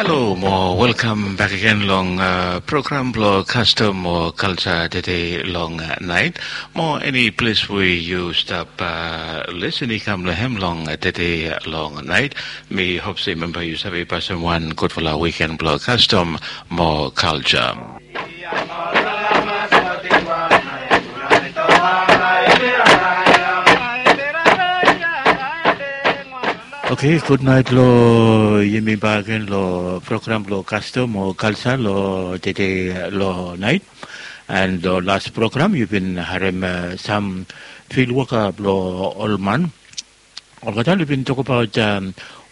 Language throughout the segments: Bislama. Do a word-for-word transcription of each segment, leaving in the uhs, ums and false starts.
Halo mo welkam bek agen long program blong kastom o kalsa tede long nait. Mo eni ples we yu stap lesen i kam long hem long tede long nait, mi hop se memba yu save pasim wan gudfala wiken blong kastom mo kalsa. Oke, gudnait long yumi bak agen long program blong kastom o kalsa long tede long nait. And long las program yu bin harem sam fil woka blong ol man. Olgeta yu bin tokbaot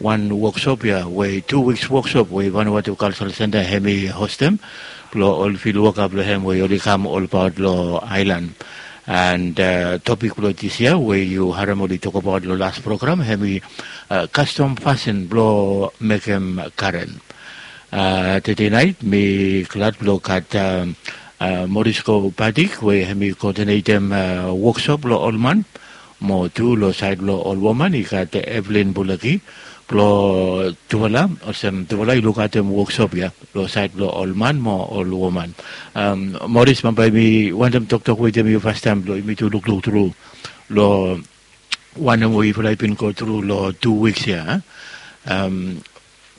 wan woksop ya we tu wiks woksop we Vanuatu Kalsal Senta hem i hostem blong ol fil woka blong hem we oli kam olbaot long aelan. And topik blong disia we yu harem oli tokbaot long las program hem i kastom fasin blong mekem karen. Tede nait mi glad blong gat Morisko Padik we hem i koodinetem woksop blong ol man, mo tu long saed blong ol woman i gat Evelyn Bulaki blong tufala, olsem tufala i lukaotem woksop ya long saed blong ol man mo ol woman. Moris, bambae mi wantem toktok wetem yu fastaem blong yumi tu lukluk tru long wanem we yufala i bin go tru long tu wiks ya.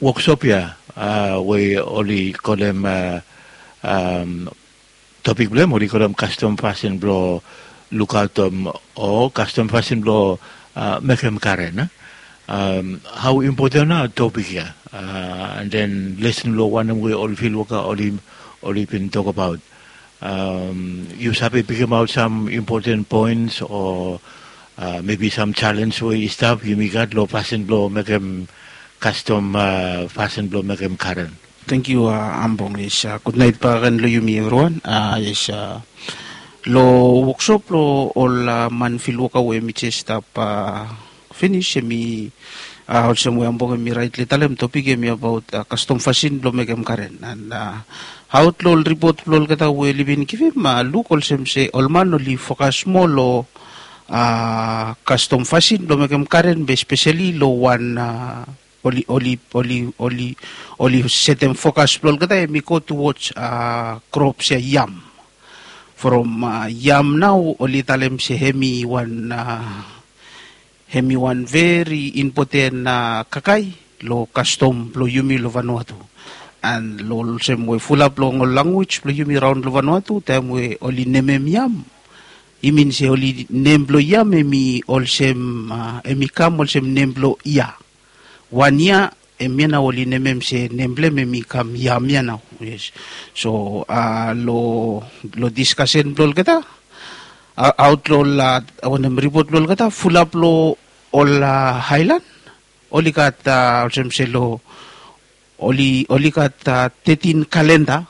Woksop ya we oli kolem topik blong hem oli kolem kastom fasin blong lukaotem o kastom fasin blong mekem karen. Hao impoten nao topik ya, and then lesen blong wanem we ol fil woka oli bin tokbaot. Yu save pikimaot sam impoten poens o mebi sam jalenj we i stap yumi gat long fasin blong mekem kastom, fasin blong mekem karen. Tangkiu Ambong. Yes, gudnait bak agen long yumi evriwan. Yes, long woksop blong ol man fil woka we mi jes stap finis, hem i olsem we Ambong hem i raetli talem, topik hem i abaot kastom fasin blong mekem karen. And aot long ol ripot blong olgeta we oli bin givim, luk olsem se ol man oli fokas moa long kastom fasin blong mekem karen, be speseli long wan oli oli oli oli oli setem fokas blong olgeta hem i go tuwoj krops ya, yam. From yam nao oli talem se hem i wan hem i wan veri impoten kakae long kastom blong yumi long Vanuatu. And long olsem we fulap long ol lanwis blong yumi raon long Vanuatu, taem we oli nemem yam, i min se oli nem blong yam hem i olsem, hem i kam olsem nem blong yia. Wan yia, hemia nao oli nemem se nem blong hem hem i kam yam ya nao. Yes. So long diskasen blong olgeta, aot long ol wanem, ripot blong olgeta, fulap long ol aelan oli gat olsem se long oli oli gat tetin kalenda,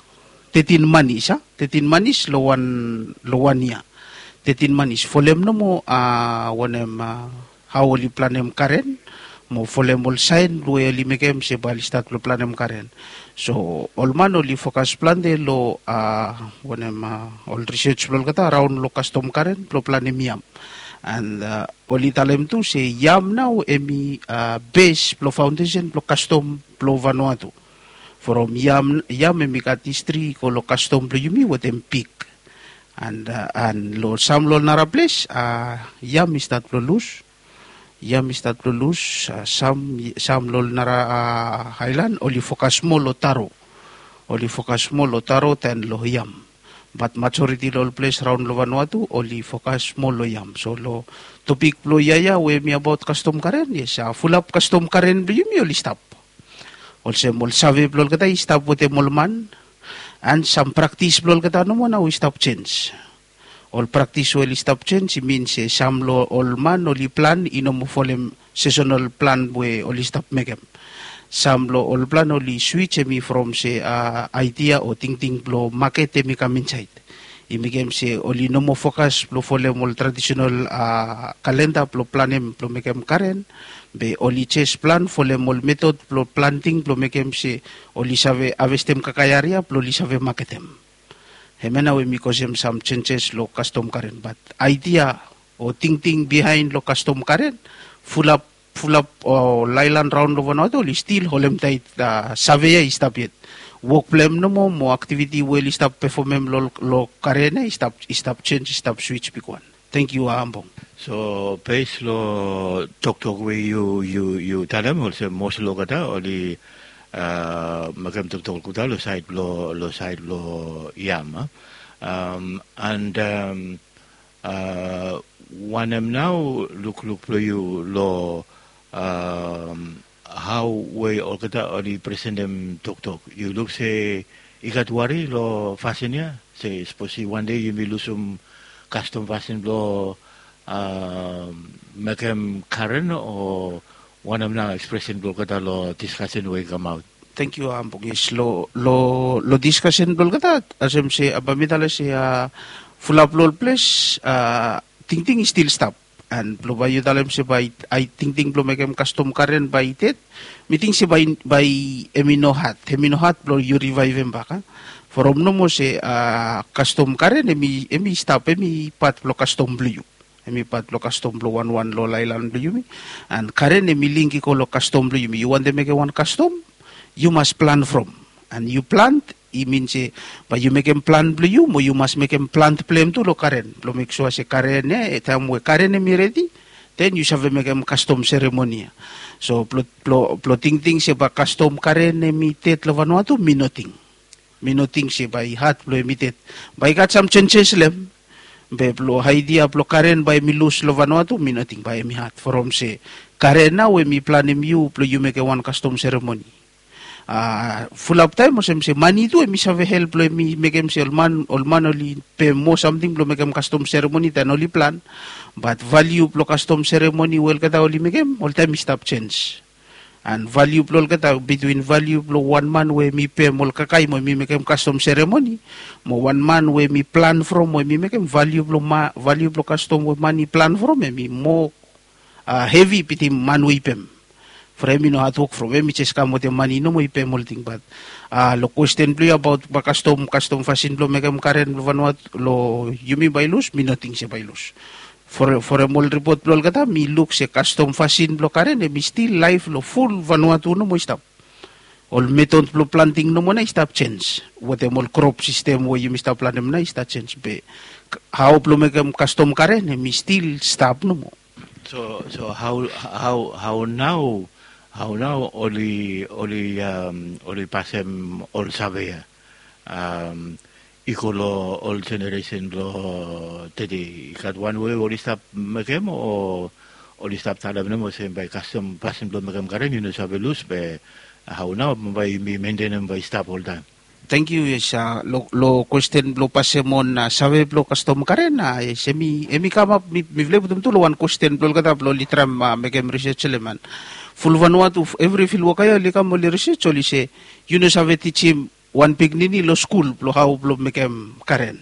tetin manis a tetin manis long wan long wan yia. Tetin manis folem nomo wanem, hao oli planem karen mo folem ol saen blong we oli mekem se bae oli stat blong planem karen. So ol man oli fokas plante long wanem, ol risej blong olgeta raon long kastom karen blong planem yam. And oli talem tu se yam nao hem i bes blong faondesen blong kastom blong Vanuatu. From yam yam hem i gat histri i go long kastom blong yumi wetem pig. And long sam long ol nara ples yam i stat blong lus. Yam i stat blong lus. Sam sam long ol nara aelan oli fokas moa long taro. Oli fokas moa long taro dan long yam. Bat majoriti long ol ples raon long Vanuatu oli fokas moa long yam. So long topik blong yia ya we hem i abaot kastom karen, yes, fulap kastom karen blong yumi oli stap. Olsem ol save blong olgeta i stap wetem ol man. And sam praktis blong olgeta nomo nao i stap jenj. Ol praktis we oli stap jenj i min se sam long ol man oli plan i no moa folem sesonal plan we oli stap mekem. Sam long ol plan oli swij hem i from se aedia o tingting blong maket hem i kam insaed. I mekem se oli no moa fokas blong folem ol tradisenal kalenda blong planem blong mekem karen. Be oli jes plan folem ol metod blong planting blong mekem se oli save havestem kakae aria blong oli save maketem. Hemia nao hem i kosem sam jenjes long kastom karen, bat aedia o tingting biaen long kastom karen fulap fulap ol aelan raon long Vanuatu oli stil holem taet. Save ya i stap yet. Wok blong hem nomo mo aktiviti we oli stap pefomem long karen ya i stap sens, i stap swits bigwan. Tangkiu Ambong. So bes long toktok we yu talem olsem mos long olgeta oli mekem toktok olgeta long saed blong yam. And wanem nao lukluk blong yu long hao we olgeta oli presentem toktok? Yu luk se i gat wari long fasin ya se sapos i wande yumi lusum kastom fasin blong mekem karen o wanem nao ekspresen blong olgeta long diskasen we i kamaot? Tangkiu Ambong. Yes, long diskasen blong olgeta, olsem se bae mi talem se fulap long ol ples tingting i stil stap. And blong bae yu talem se bae tingting blong mekem kastom karen bae i ded, mi ting se bae hem i no had, hem i no had blong yu rivaevem bak. From nomo se kastom karen hem i stap, hem i pat blong kastom blong yu. Hem i pat blong kastom blong wanwan long ol aelan blong yumi. And karen hem i link i go long kastom blong yumi. Yu wantem mekem wan kastom, yu mas plan from. And yu plan i min se bae yu mekem plan blong yu mo yu mas mekem plan blong hem tu long karen blong mek sua se karen ya, taem we karen hem i redi, den yu save mekem kastom seremoni ya. So blong tingting se bae kastom karen hem i ded long Vanuatu, mi no ting. Mi no ting se bae i had blong hem i ded. Bae i gat sam jenjes long hem. Be blong aedia blong karen bae hem i lus long Vanuatu, mi no ting bae hem i had from se karen nao hem i planem yu blong yu mekem wan kastom seremoni. Fulap taem olsem se mane tu hem i save help blong hem i mekem se ol man oli pem moa samting blong mekem kastom seremoni dan oli plan. Bat valiu blong kastom seremoni we olgeta oli mekem oltaem i stap jens. And valiu blong olgeta, bitwin valiu blong wan man we hem i pem ol kakae mo hem i mekem kastom seremoni, mo wan man we hem i plan from mo hem i mekem, valiu blong kastom we man i plan from hem i moa hevi bitim man we i pem. From hem i no hadwok from hem, i jes kam wetem mane nomo i pem olting. Bat long kwesten blong yu abaot bae kastom kastom fasin blong mekem karen blong Vanuatu long yumi bae i lus, mi no ting se bae i lus. From ol ripot blong olgeta mi luk se kastom fasin blong karen hem i stil laef long ful Vanuatu nomo i stap. Ol metod blong planting nomo nao i stap jens, wetem ol krop sistem we yumi stap planem nao i stap jens, be hao blong mekem kastom karen hem i stil stap nomo. So hao nao, hao nao oli pasem ol save ya i go long ol jeneresen blong tede? I gat wan we oli stap mekem o oli stap talem nomo se bae kastom fasin blong mekem karen i no save lus, be hao nao bae yumi mentenem bae i stap oltaem? Tangkiu. Yes, long kwesten blong pasem on save blong kastom karen, yes, hem i kamap, mifala i putum tu long wan kwesten blong olgeta blong oli traem mekem risej long hem. And ful Vanuatu evri fil woka ya oli kam oli risej, oli se yu no save tijim wan pikinini long skul blong hao blong mekem karen.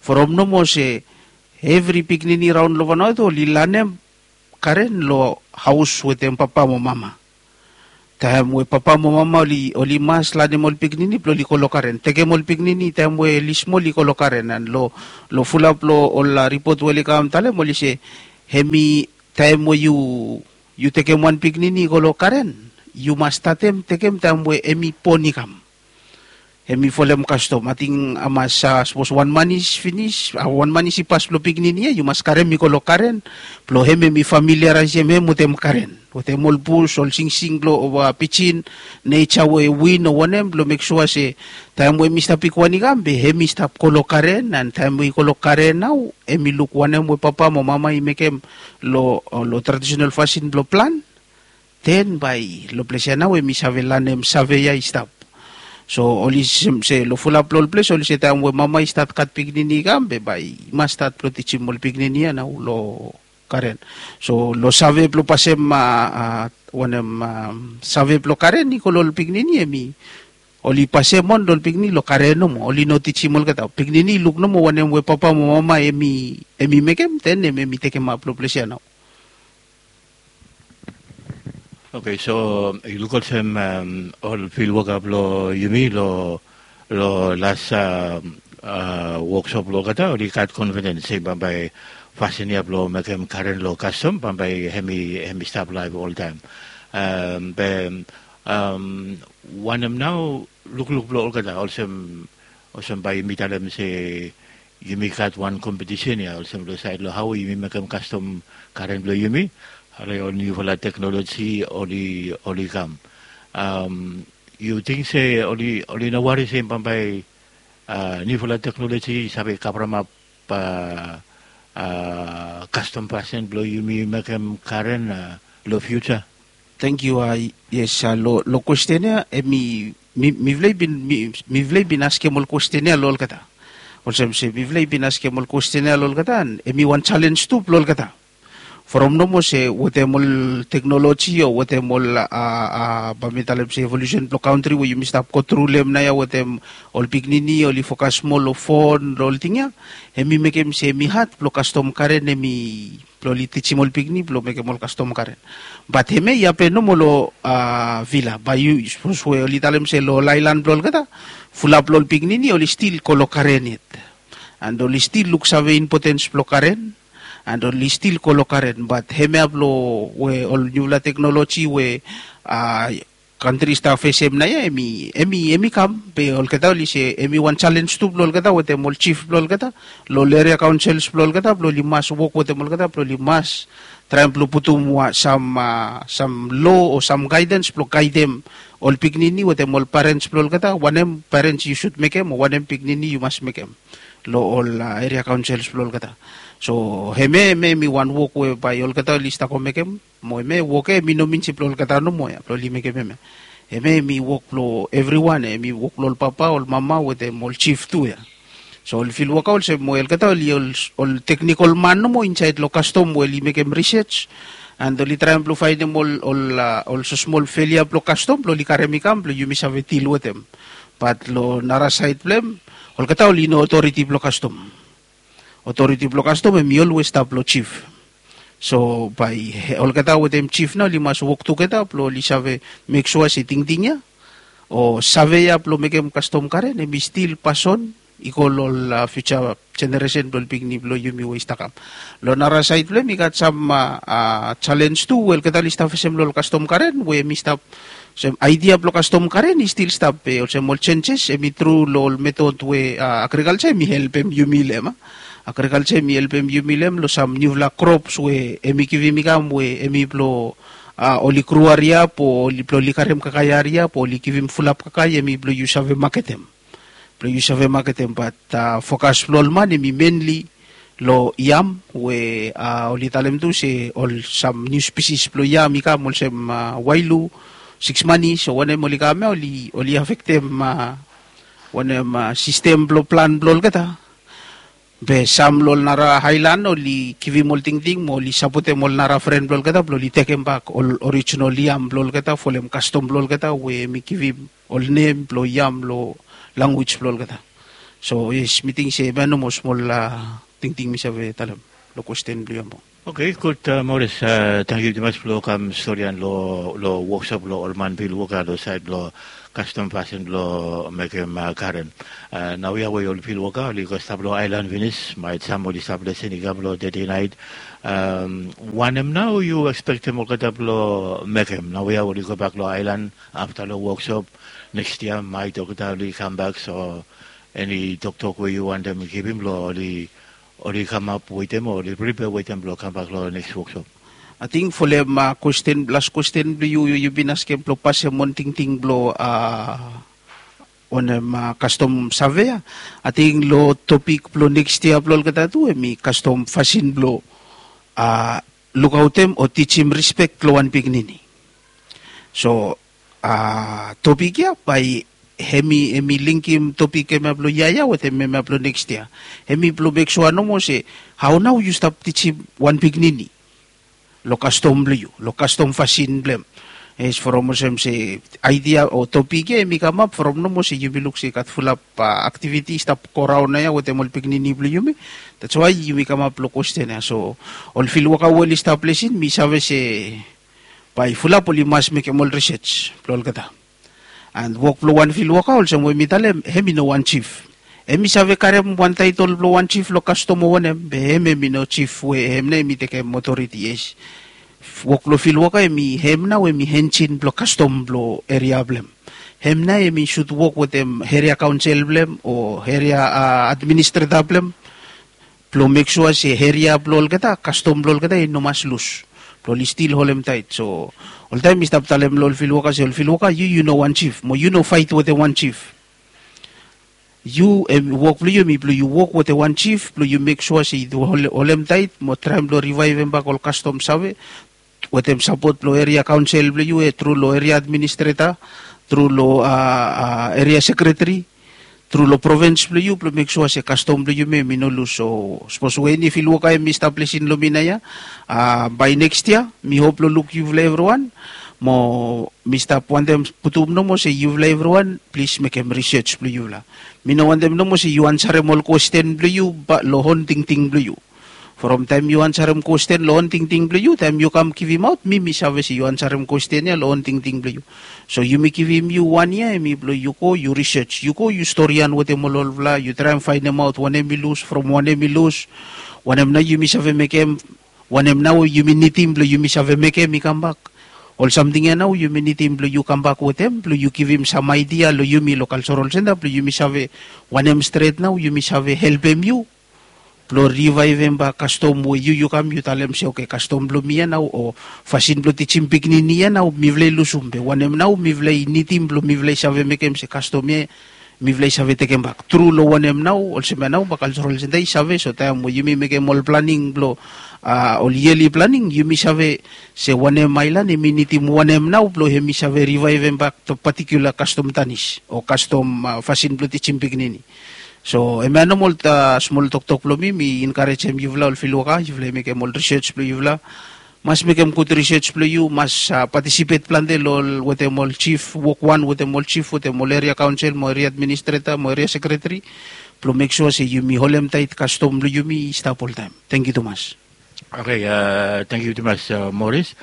From nomo se evri pikinini raon long Vanuatu oli lanem karen long haos wetem papa mo mama. Taem we papa mo mama oli mas lanem ol pikinini blong oli go long karen, tekem ol pikinini taem we oli smol i go long karen. And long fulap long ol ripot we oli kam talem oli se hem i taem we yu tekem wan pikinini i go long karen, yu mas statem tekem taem we hem i bon i kam. Hem i folem kastom, ating a mas sapos wan manis finis, wan manis i pas blong pikinini ya yu mas karem i go long karen blong hem hem i familiaraesem hem wetem karen, wetem ol bus, ol singsing blong pijin, neja we win o wanem, blong mek sua se taem we hem i stap i go wan i kam be hem i stap go long karen. And taem we i go long karen nao hem i luk wanem we papa mo mama i mekem long tradisonal fasin blong plan. Den bae long ples ya nao hem i save lanem save ya i stap. So oli sem se long fulap long ol ples oli se taem we mama i stat gat pikinini i kam be bae i mas stat blong tijim ol pikinini ya nao long karen. So long save blong pasem wanem, save blong karen i go long ol pikinini hem i oli pasem on long ol pikinini long karen nomo, oli no tijim olgeta. Pikinini i luk nomo wanem we papa mo mama hem i mekem, den hem hem i tekemap long ples ya nao. Oke, so yu luk olsem ol fil woka blong yumi long las woksop blong olgeta oli gat konfidens se bambae fasin ya blong mekem karen long kastom bambae hem i hem i stap laef oltaem. Be wanem nao lukluk blong olgeta olsem olsem bae yumi talem se yumi gat wan kompetisen ya olsem long saed long hao yumi mekem kastom karen blong yumi, ale ol niufala teknoloji oli oli kam. Yu ting se oli oli no wari se bambae niufala teknoloji i save kavremap kastom fasin blong yumi mekem karen long fiuja? Tangkiu. Yes, long kwesten ya em i mifala i bin mifala i bin askem ol kwesten ya long olgeta. Olsem se mifala i bin askem ol kwesten ya long olgeta an em i wan jalenj tu blong olgeta. From nomo se wetem ol teknoloji o wetem ol a ba mi talem se evolusen blong kantri we yumi stap gotru long em naoia wetem ol pikinini oli fokas moa long fon long ol ting ya, hem i mekem se hem i had blong kastom karen hem i blong oli tijim ol pikinini blong mekem ol kastom karen. Bat hem ya i hapen nomo long a vila bae yu sapos we oli talem se long ol aelan blong olgeta fulap long ol pikinini oli stil go long karen yet. And oli stil luksave impotens blong karen and oli stil go long karen bat hem ya blong we ol niufala teknoloji we a kantri i stap fesem naoia hem i hem i hem i kam be olgeta oli se hem i wan jalenj tu blong olgeta wetem ol jif blong olgeta long ol eria kaonsels blong olgeta blong oli mas wok wetem olgeta blong oli mas traem blong putum sam sam lo o sam gaedens blong gaedem ol pikinini wetem ol parens blong olgeta wanem parens yu sud mekem o wanem pikinini yu mas mekem long ol eria kaonsels blong olgeta. So hem ya hem ya hem i wan wok we bae olgeta oli stap go mekem mo hem ya wok ya hem i no min se blong olgeta nomo ya blong oli mekem hem ya. Hem ya hem i wok blong evriwan ya hem i wok blong ol papa ol mama wetem ol jif tu ya. So oli fil woka olsem we olgeta oli ol teknikol man nomo insaed long kastom we oli mekem risej and oli traem blong faenem ol ol ol sosmol felia blong kastom blong oli karem i kam blong yumi save dil wetem. Bat long nara saed blong hem olgeta oli no otoriti blong kastom. Otoriti blong kastom hem i olwes stap long jif. So bae olgeta wetem jif nao oli mas wok tugeta blong oli save mek sua se tingting ya o save ya blong mekem kastom karen hem i stil pason i go long ol fiuja jeneresen blong ol pikinini blong yumi we i stap kam. Long nara saed blong hem i gat sam jalenj tu we olgeta oli stap fesem long ol kastom karen we hem i stap olsem aidia blong kastom karen i stil stap be olsem ol jenjes hem i tru long ol metod we agrikalja hem i helpem yumi long hem. Agrikalja hem i helpem yumi long hem long sam niufala krops we hem i givim i kam we hem i blong oli gru hariap o blong oli karem kakae hariap o oli givim fulap kakae hem i blong yu save maketem. Blong yu save maketem bat fokas blong ol man hem i menli long yam we oli talem tu se ol sam niu spisis blong yam i kam olsem wailu siks manis o wanem oli kam ya oli afektem wanem sistem blong plan blong olgeta. Be sam long ol nara aelan oli givim ol tingting mo oli sapotem ol nara fren blong olgeta blong oli tekembak ol orijinal yam blong olgeta folem kastom blong olgeta we hem i givim ol nem blong yam long lanwis blong olgeta. So yes mi ting se hem ya nomo smol tingting mi save talem long kwesten blong yu ya mo. Oke gud. Moris, tangkiu tumas blong kam storian long woksop blong ol man pilwoka long saed blong kastom fasin blong mekem karen. Naoia we ol pilwoka oli go stap long aelan finis maet sam oli stap lesen i kam long dede naet. Wanem nao yu ekspektem olgeta blong mekem naoia oli gobak long aelan afta long woksop neks yia maet olgeta oli kambak so eni toktok we yu wantem givim long oli oli kamap wetem o oli pripea wetem blong kambak long neks woksop? Ating folem kwesten las kwesten blong yu yu bin askem blong pasem wan tingting blong a wanem kastom save ya. Ating long topik blong neks yia blong olgeta tu hem i kastom fasin blong a lukaotem o tijim rispek long wan pikinini. So a topik ya bae hem i hem i lingkim topik hemia blong yia ya wetem hemia blong neks yia. Hem i blong mek sua nomo se hao nao yu stap tijim wan pikinini long kastom blong yu long kastom fasin blong hem. Yes from olsem se aidia o topik ya hem i kamap from nomo se yumi luk se i gat fulap aktiviti i stap goraon naoia wetem ol pikinini blong yumi. Dats wae yumi kamap long kwesten ya so ol filwoka we oli stap lesin mi save se bae fulap oli mas mekem ol risej blong olgeta. And wok blong wan filwoka olsem we mi talem hem i no wan jif. Em i save karem wan taitol blong wan jif long kastom o wanem, be em em i no jif we em nao em i tekem otoriti. Yes, wok blong filwoka em i em nao em i enjin blong kastom blong eria blong em. Em nao em i sud wok wetem eria kaonsel blong em o eria administreta blong em, blong mek sua se eria blong olgeta, kastom blong olgeta i no mas lus, blong oli stil holem taet. So oltaem mi stap talem long ol filwoka se ol filwoka, yu yu no wan jif mo yu no fait wetem wan jif. Yu em wok blong yu em i blong yu wok wetem wan jif blong yu mek sua se yu holem taet mo traem blong rivaevem bak ol kastom save wetem sapot blong eria kaonsel blong yu, tru long eria administreta, tru long eria sekreteri, tru long provens blong yu blong mek sua se kastom blong yumi em i no lus. So sapos we eni filwoka em i stap lisin long mi naoia, bae neks yia mi hop long luk yufala evriwan. Mo mi stap wantem putum nomo se yufala evriwan plis mekem risej blong yufala. Mi no wantem nomo se yu ansarem ol kwesten blong yu long on tingting blong yu. From taem yu ansarem kwesten long on tingting blong yu, taem yu kam givimaot mi mi save se yu ansarem kwesten ya long on tingting blong yu. So yumi givim yu wan yia em i blong yu go yu risej, yu go yu storian wetem ol olfala, yu traem faenemaot wanem i lus, from wanem i lus, wanem nao yumi save mekem, wanem nao yumi nidim blong yumi save mekem i kambak. Ol samting ya nao yumi nidim blong yu kambak wetem blong yu givim sam aidia long yumi long kalserol senta blong yumi save wanem stret nao yumi save helpem yu blong rivaevem bak kastom we yu yu kam yu talem se oke, kastom blong mi ya nao o fasin blong tijim pikinini ya nao mifala i lusum, be wanem nao mifala i nidim blong mifala i save mekem se kastom ya mifala i save tekembak. Tru long wanem nao olsem ya nao bak kalserol senta i save, so taem we yumi mekem ol planing blong ol yeli planing yumi save se wanem aelan em i nidim wanem nao blong em i save rivaevem bak patikula kastom tanis o kastom fasin blong tijim pikinini. So em ya nomo ol smol toktok blong mi mi enkarejem yufala ol filwoka, yufala i mekem ol risej blong yufala. Mas mekem gud risej blong yu, mas patisipet plante long ol wetem ol jif wokwan wetem ol jif wetem ol eria kaonsel mo eria administreta mo eria sekreteri blong mek sua se yumi holem taet kastom blong yumi i stap oltaem. Tangkiu tumas. Oke, tangkiu tumas moris.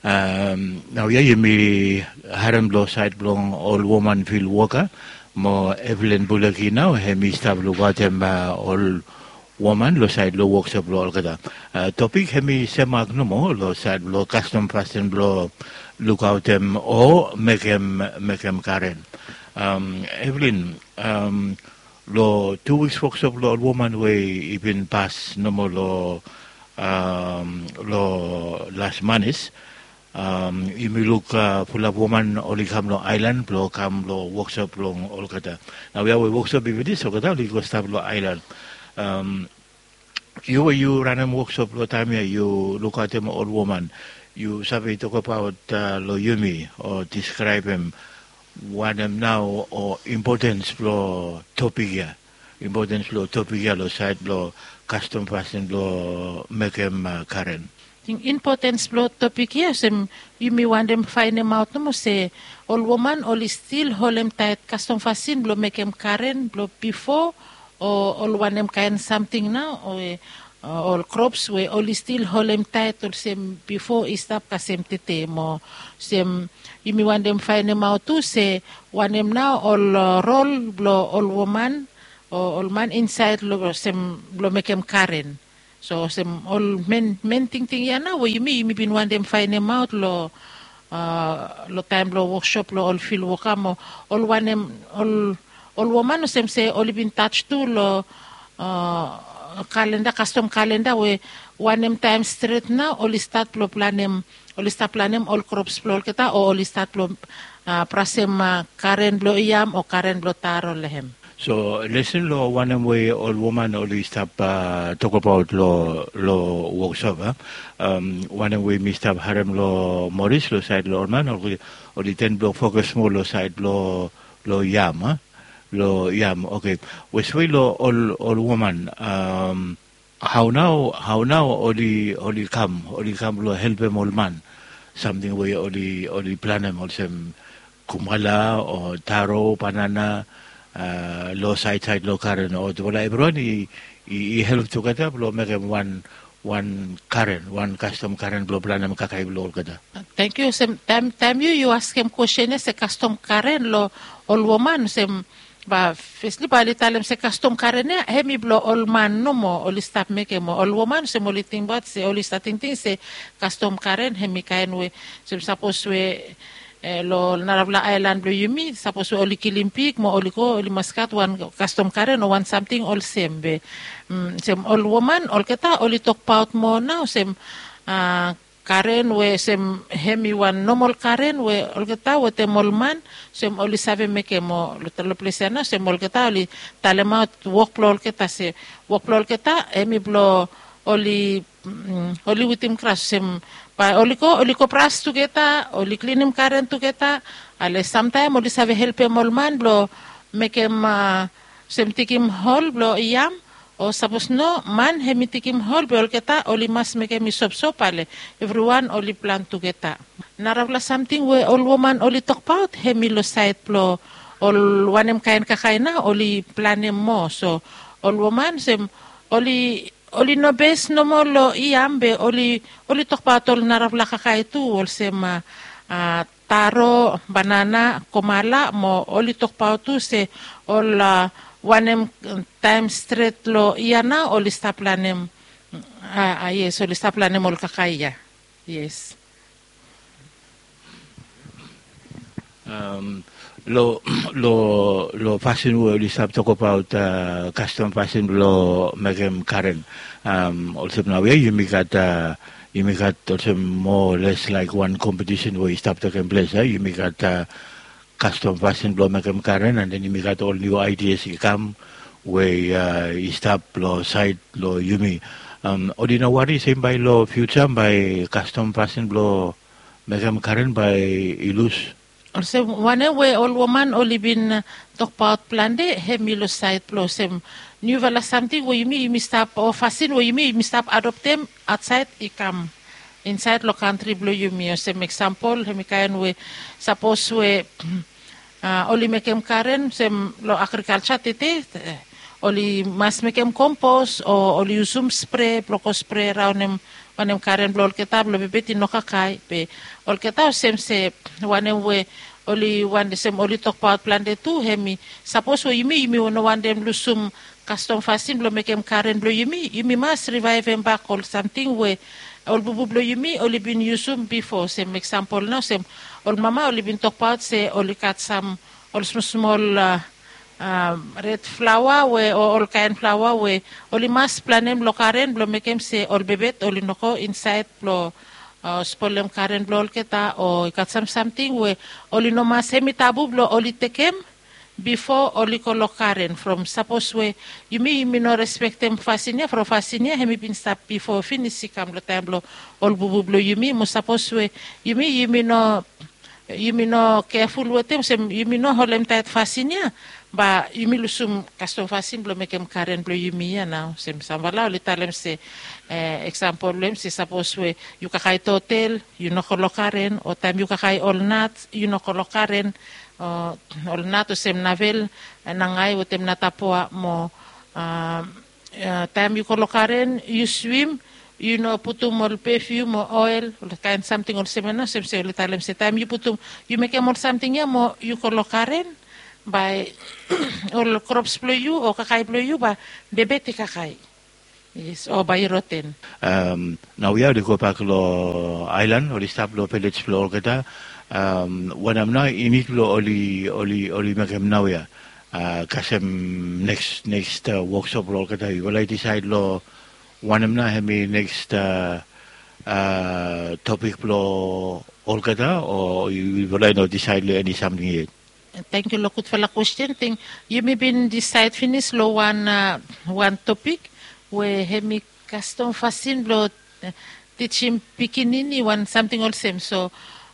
Naoia yumi harem long saed blong ol woman filwoka mo evelyn buleki nao hem i stap lukaotem ol woman long saed long woksop blong olgeta. Topik hem i semak nomo long saed blong kastom fasin blong lukaotem o mekem mekem karen. Evelyn, long tu wiks woksop blong ol woman we i bin pas nomo long long las manis, yumi luk fulap woman oli kam long aelan blong kam long woksop blong olgeta. Naoia we woksop i finis olgeta oli go stap long aelan. Yu we yu ranem woksop long taem ya yu lukaotem ol woman, yu save tokabaot long yumi o diskraebem wanem nao o impotens blong topik ya, impotens blong topik ya long saed blong kastom fasin blong mekem karen. Ting impotens blong topik ya olsem yumi wantem faenemaot nomo se ol woman oli stil holem taet kastom fasin blong mekem karen blong bifo o ol wanem kaen samting nao o ol krops we oli stil holem taet olsem bifo i stap kasem tete mo olsem yumi wantem faenemaot tu se wanem nao ol rol blong ol woman o ol man insaed long olsem blong mekem karen. So olsem ol men men tingting ya nao we yumi yumi bin wantem faenemaot long long taem blong woksop blong ol filwoka mo ol wanem ol ol woman olsem se oli bin taj tu long kalenda kastom kalenda we wanem taem stret nao oli stat blong planem oli stap planem ol krops blong olgeta o oli stat blong prasem karen blong yam o karen blong taro long hem. So lesen long wanem we ol woman oli stap tokabaot long long woksop a wanem we mi stap harem long moris long saed long ol man oli ten blong fokas moa long saed blong long yam a long yam. Oke, weswe long ol ol woman, hao nao hao nao oli oli kam oli kam blong helpem ol man samting we oli oli planem olsem kumala o taro banana long saed saed long karen o tufala evriwan i i help tugeta blong mekem wan wan karen wan kastom karen blong planem kakae blong olgeta. Tangkiu olsem taem taem yu yu askem kwestin ya se kastom karen long ol woman olsem Ba fesli ba oli talem se kastom karen ya hemi blong ol man nomo oli stap mekem mo ol woman olsem oli tingbaot se oli stap tingting se kastom karen hemi kaen we olsem sapos we long narafala aelan blong yumi sapos we oli kilim pik mo oli go oli mas gat wan kastom karen o wan samting olsem be olsem ol woman olgeta oli tokbaot moa nao olsem karen we olsem hemi wan nomol karen we olgeta wetem ol man olsem oli save mekem o long ples ya nao olsem olgeta oli talemaot wok blong olgeta se wok blong olgeta hemi blong oli oli witim gras olsem bae oli go oli go bras tugeta oli klinim karen tugeta ale samtaem oli save helpem ol man blong mekem olsem tikim hol blong yam o sapos no man hemi tikim hol be olgeta oli mas mekem i sopsop ale evriwan oli plan tugeta. Narafala samting we ol woman oli tokbaot hemi long saed blong ol wanem kaen kakae nao oli planem moa so ol woman olsem oli oli no bes nomo long yam be oli oli tokbaot ol narafala kakae tu olsem taro banana komala mo oli tokbaot tu se ol wanem taem stret long yia nao oli stap lanem a yes oli stap lanem ol kakae ya. Yes. Long long long pasin we oli stap tokabaot kastom pasin blong mekem karen olsem nau ya yumi gat yumi gat olsem moa o les laik wan kompetisen we i stap tekem ples ya yumi gat kastom pasin blong mekem karen an den yumi gat ol niu aidias i kam we i stap long saed long yumi. Oli no wari sem bae long fiuja bae kastom pasin blong mekem karen bae i lus. Olsem wanem we ol woman oli bin tokbaot plante hem i long saed blong olsem niufala samting we yumi yumi stap o fasin we yumi yumi stap adoptem aotsaed i kam insaed long kantri blong yumi olsem eksampol hem i kaen we sapos we oli mekem karen olsem long agrikalja tete oli mas mekem kompos o oli yusum spre blong go spre raonem wanem karen blong olgeta blong bebet i no kakae be olgeta olsem se wanem we oli wantem oli tokbaot plante tu hem i sapos we yumi yumi no wantem lusum kastom fasin blong mekem karen blong yumi yumi mas rivaevem bak ol samting we ol bubu blong yumi oli bin yusum bifo olsem eksampol nao olsem ol mama oli bin tokbaot se oli gat sam ol smosmol red flaoa we o olkaen flaoa we oli mas planem long karen blong mekem se ol bebet oli no go insaed blong spolem karen blong olgeta o i gat sam samting we oli no mas hem i tabu blong oli tekem bifo oli go long karen from sapos we yumi yumi no respektem fasin ya from fasin ya hem i bin stap bifo finis i kam long taem blong ol bubu blong yumi mo sapos we yumi yumi no yumi no keful wetem olsem yumi no holemtaet fasin ya ba yumi lusum kastom fasin blong mekem karen blong yumi ya nao olsem samfala oli talem se eksampol blong hem se sapos we yu kakae totel yu no go long karen o taem yu kakae ol nat yu no go long karen o ol nat olsem navel nangae wetem natapoa mo taem yu go long karen yu swim yu no putum ol pefium o oel ol kaen samting olsem ya nao olsem se oli talem se taem yu putum yu mekem ol samting ya mo yu go long karen bae ol krops blong yu o kakae blong yu bae bebet i kakae. Yes o bae i roten. Naoia oli gobak long aelan oli stap long vilej blong olgeta wanem nao i nid blong oli oli oli mekem naoia kasem neks neks woksop blong olgeta yufala i disaed long wanem nao hem i neks topik blong olgeta o yufala i no disaed long eni samting yet? Tangkiu long gudfala kwesten ting yumi bin disaed finis long wan wan topik we hem i kastom fasin blong tijim pikinini wan samting olsem so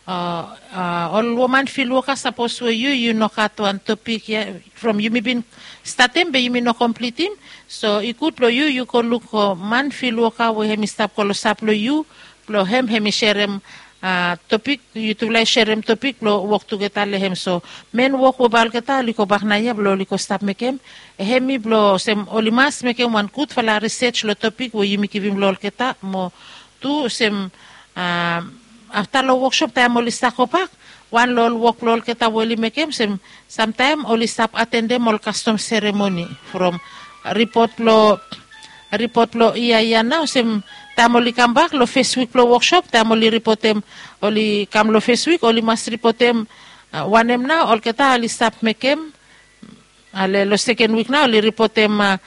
ol woman fil woka sapos we yu yu no gat wan topik ya from yumi bin statem be yumi no komplitim so i gud long yu yu go luk man fil woka we hem i stap go long sap long yu blong hem hem i serem topik yutufala i serem topik blong wok tugeta long hem so men wok we bae olgeta oli gobak naoia blong oli go stap mekem hem i blong olsem oli mas mekem wan gudfala risej long topik we yumi givim long olgeta mo tu olsem afta long woksop taem oli stap gobak Wan long ol wok blong olgeta we oli mekem olsem samtaem oli stap atendem ol kastom seremoni from ripot blong ripot blong ia ia nao olsem taem oli kambak long fes wik blong woksop taem oli ripotem oli kam long fes wik oli mas ripotem wanem nao olgeta oli stap mekem ale long seken wik nao oli ripotem a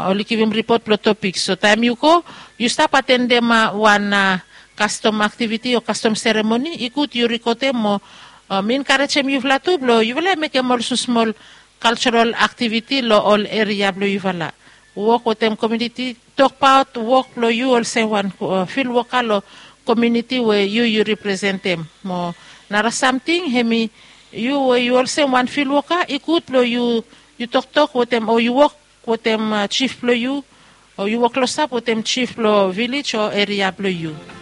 oli givim ripot blong topik so taem yu go yu stap atendem a wan a kastom aktiviti o kastom seremoni i gud yu rikotem o mi enkarejem yufala tu blong yufala i mekem ol smosmol kaltsaral aktiviti long ol eria blong yufala wok wetem kominiti tokbaot wok blong yu olsem wan filwoka long kominiti we yu yu representem mo nara samting hem i yu we yu olsem wan filwoka i gud blong yu yu toktok wetem o yu wok wetem jif blong yu o yu wok klosap wetem jif blong vilej o eria blong yu.